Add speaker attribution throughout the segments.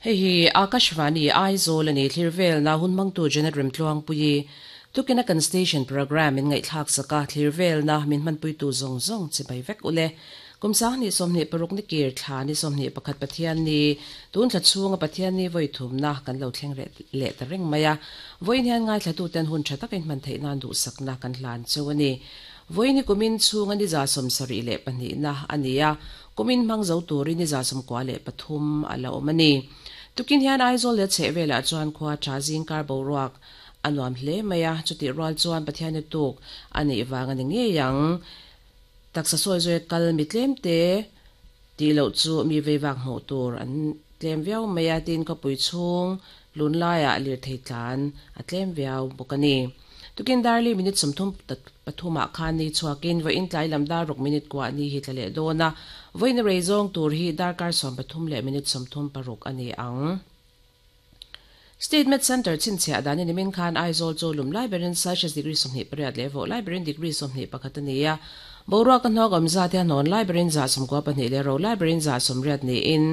Speaker 1: Hei hi Akashvani Aizawl a ni thlir velna hun hmangtu Janet Remtluangpuii tukina kan station programme min ngaihthlak sak a, thlir velna min hmanpuitu zawng zawng chibai vek ule. Kum 2026 ni kir thla ni 21 Pathianni tun thla chhunga Pathianni vawi thumna kan lo thleng leh ta reng mai a. Vawiin hian ngaithlatuten hun tha takin hman theih nan duhsakna kan hlan cheu a ni. Vawiin hi kumin chhunga ni 72na a ni a, kumin hmang zo turin ni 93 a la awm a ni. Tukin hian Aizawl leh chheh velah chuan khua tha zingkar boruak a nuam hle mai a, chutih rual chuan Pathianni tuk a nih vang a ni ngei ang. Taksa sawi zawi kal mi tlem te tih loh chu mi veivak hmuh tur an tlem viau mai a, tin khawpui chhung lun laiah lirthei tlan a tlem viau bawk a ni. Tukin darli minute 33 ah khan ni chhuakin vawiin tlai lam dar ruk minute kuah ni hi tla leh dawn a, vawiin rei zawng tur hi darkar 13 leh minute 36 a ni ang. State Med Centre chhinchhiah danin nimin khan Aizawl chu lum lai berin Celsius degree 28 leh vawh lai berin degree 21 a ni a. Boruak a hnawk awm zat hi a hnawn lai berin 92 leh ro lai berin 80 niin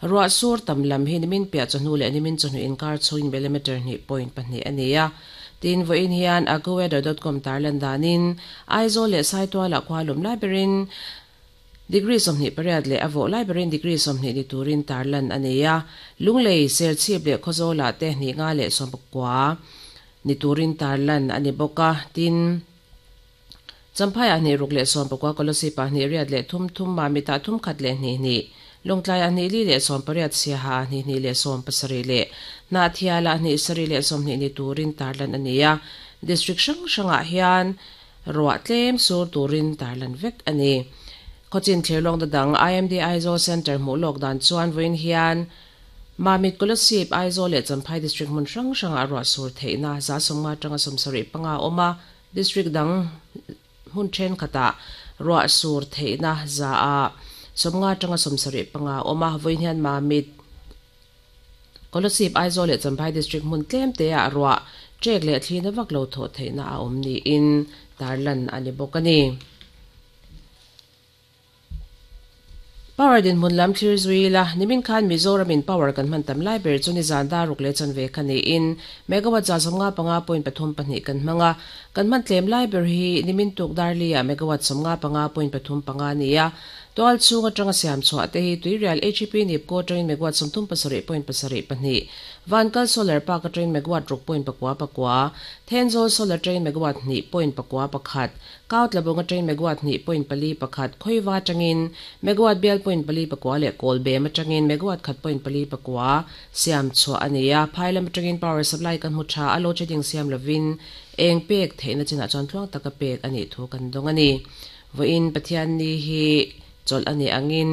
Speaker 1: ruah sur tam lam hi nimin piah chawhnu leh nimin chawhnu inkar chhungin millimetre hnih point pahnih a ni a. Tin, vawiin hian AccuWeather.com tarlan danin Aizawl leh Saitualah khua lum lai berin Degree 28 leh a vawh lai berin degree 20 ni turin tarlan a nei a. Lunglei, Serchhip leh Khawzawlah te hnih nga leh sawmpakua ni turin tarlan a ni bawk a. Tin, Champhaiah hnih ruk leh sawmpakua, Kolosipah hnih riat leh thum thum, Mamitah thum khat leh hnih hnih, Lawngtlaiah hnih li leh 18, Siahaah hnih hnih leh 70 leh Hnahthialah hnih sarih leh 20 ni turin tarlan a ni a. District hrang hrangah hian Ruah tlem sur turin tarlan vek a ni. Khawchin thirlawng da dang IMD Aizawl Centre hmuh lawk dan chuan vawiin hian Mamit Kolasib, Aizawl leh Champhai District hmun hrang hrangah ruah sur theihna 50 atanga 75 a awm a, District dang hmun thenkhatah ruah sur theihna 50 atanga 75 a awm a, vawiin hian Mamit Kolasib, Aizawl leh Champhai District hmun tlem te ah ruah ṭek leh thlina vak lo thawh theihna a awm niin tarlan a ni bawk a ni. Power dinhmun lam thlir zui ila, nimin khan Mizoram in power kan hman tam lai ber chu nizan dar ruk leh chanve kha niin megawatt 55.32 kan hmang a, kan hman tlem lai ber hi nimin tuk dar li ah megawatt 55.35 a ni a, Tual chhung atanga siam chhuah te hi Tuirial HEP Nipco atangin megawatt 37.72, Vankal Solar Park atangin megawatt ruk point pakua pakua, Thenzawl Solar atangin megawatt hnih point pakua pakhat, Kautlabung atangin megawatt hnih point pali pakhat, Khawiva atangin megawatt bial point pali pakua leh Kawlbem atangin megawatt khat point pali pakua siam chhuah a ni a. Phai lam atangin power supply kan hmu tha a, load shedding siam lovin eng pek theihna chinah chuan tluang taka pek a nih thu kan dawng a ni. Vawiin Pathianni hi chawlh a nih angin.